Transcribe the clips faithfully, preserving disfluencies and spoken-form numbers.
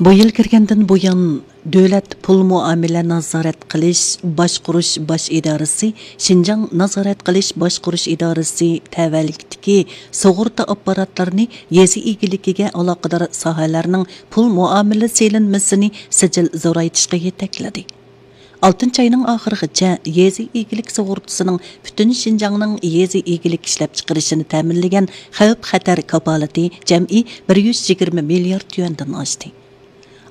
بۇ يىل كىرگەندىن بۇيان، دۆلەت پۇل مۇئامىلە نازارەت قىلىش باشقۇرۇش باش ئىدارىسى، شىنجاڭ نازارەت قىلىش باشقۇرۇش ئىدارىسى تەۋەلىكىدىكى سۇغۇرتا ئاپپاراتلىرىنى يېزا ئىگىلىكىگە ئالاقىدار ساھەلەرنىڭ پۇل مۇئامىلە سېلىنمىسىنى سىجىل زورايتىشقا يېتەكلىدى. ئالتىنچى ئاينىڭ ئاخىرىغىچە يېزا ئىگىلىك سۇغۇرتىسىنىڭ پۈتۈن شىنجاڭنىڭ يېزا ئىگىلىك ئىشلەپچىقىرىشىنى تەمىنلىگەن خەۋپ-خەتەر كاپالىتى جەمئىي بىر يۈز يىگىرمە مىليارد يۈەندىن ئاشتى.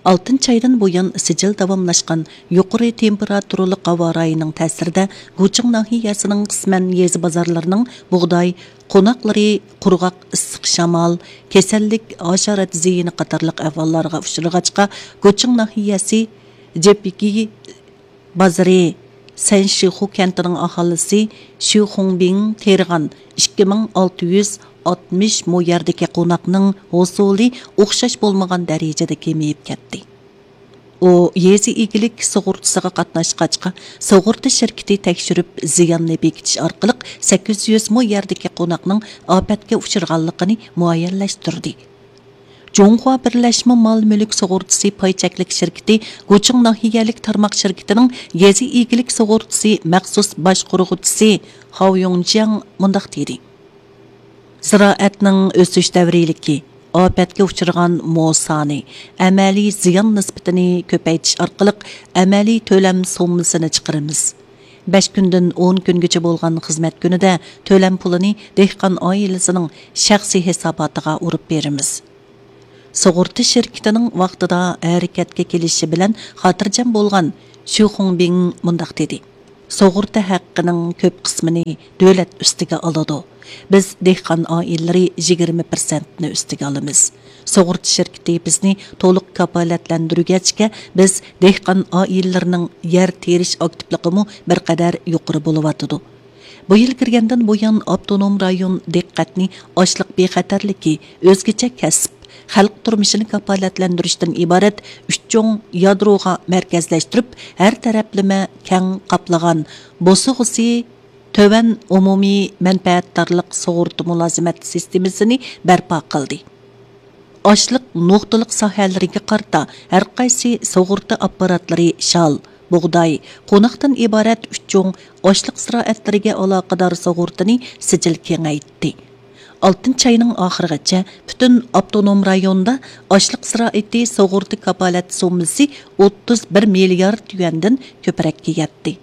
ئالتىنچى ئايدىن بۇيان سىجىل داۋاملاشقان يۇقىرى تېمپېراتۇرىلىق ھاۋا رايىنىڭ تەسىرىدە، گۇچىڭ ناھىيەسىنىڭ قىسمەن يېزا بازارلىرىنىڭ بۇغداي، قوناقلىرى، قۇرغاق ئىسسىق شامال، كېسەللىك، ھاشارات زىيىنى قاتارلىق ئەھۋاللارغا ئۇچرىغاچقا، گۇچىڭ ناھىيەسى جېپىكى بازىرى سەنشىخۇ كەنتىنىڭ ئاھالىسى شۈ خۇڭبىڭ تېرىغان ئىككى مىڭ ئالتە يۈز ئاتمىش مو يەردىكى قوناقنىڭ ھوسۇلى ئوخشاش بولمىغان دەرىجىدە كېمىيىپ كەتتى. ئۇ يېزا ئىگىلىك سۇغۇرتىسىغا قاتناشقاچقا، سۇغۇرتا شىركىتى تەكشۈرۈپ، زىياننى بېكىتىش ئارقىلىق سەككىز يۈز مو يەردىكى قوناقنىڭ ئاپەتكە ئۇچرىغانلىقىنى مۇئەييەنلەشتۈردى. جۇڭخۇا بىرلەشمە مال مۈلۈك سۇغۇرتىسى پاي چەكلىك شىركىتى گۇچىڭ ناھىيەلىك تارماق شىركىتىنىڭ يېزا ئىگىلىك سۇغۇرتىسى مەخسۇس باشقۇرغۇچىسى خاۋ يۇڭجياڭ مۇنداق دېدى: زىرائەتنىڭ ئۆسۈش دەۋرىيلىكى، ئاپەتكە ئۇچرىغان مو سانى، ئەمەلىي زىيان نىسبىتىنى كۆپەيتىش ئارقىلىق ئەمەلىي تۆلەم سوممىسىنى چىقىرىمىز. بەش كۈندىن ئون كۈنگىچە بولغان خىزمەت كۈنىدە تۆلەم پۇلىنى دېھقان ئائىلىسىنىڭ شەخسىي ھېساباتىغا ئۇرۇپ بېرىمىز. سۇغۇرتا شىركىتىنىڭ ۋاقتىدا ھەرىكەتكە كېلىشى بىلەن خاتىرجەم بولغان شۈ خۇڭبىڭ مۇنداق دېدى: سۇغۇرتا ھەققىنىڭ كۆپ قىسمىنى دۆلەت ئۈستىگە ئالىدۇ. بىز دېھقان ئائىلىلىرى يىگىرمە پىرسەنتنى ئۈستىگە ئالىمىز. سۇغۇرتا شىركىتى بىزنى تولۇق كاپالەتلەندۈرگەچكە، بىز دېھقان ئائىلىلىرىنىڭ يەر تېرىش ئاكتىپلىقىمۇ بىر قەدەر يۇقىرى بولۇۋاتىدۇ. بۇ يىل كىرگەندىن بۇيان، ئاپتونوم رايون دىققەتنى ئاشلىق بىخەتەرلىكى، ئۆزگىچە كەسىپ، خەلق تۇرمۇشىنى كاپالەتلەندۈرۈشتىن ئىبارەت ئۈچ چوڭ يادروغا مەركەزلەشتۈرۈپ، ھەر تەرەپلىمە كەڭ قاپلىغان، بوسۇغىسى تۆۋەن ئومۇمىي مەنپەئەتدارلىق سۇغۇرتا مۇلازىمەت سىستېمىسىنى بەرپا قىلدى. ئاشلىق نۇقتىلىق ساھەلىرىگە قارىتا ھەرقايسى سۇغۇرتا ئاپپاراتلىرى شال، بۇغداي، قوناقتىن ئىبارەت ئۈچ چوڭ ئاشلىق زىرائەتلىرىگە ئالاقىدار سۇغۇرتىنى سىجىل كېڭەيتتى. ئالتىنچى ئاينىڭ ئاخىرىغىچە پۈتۈن ئاپتونوم رايوندا ئاشلىق زىرائىتى سۇغۇرتا كاپالەت سوممىسى ئوتتۇز بىر مىليارد يۈەندىن كۆپرەككە يەتتى.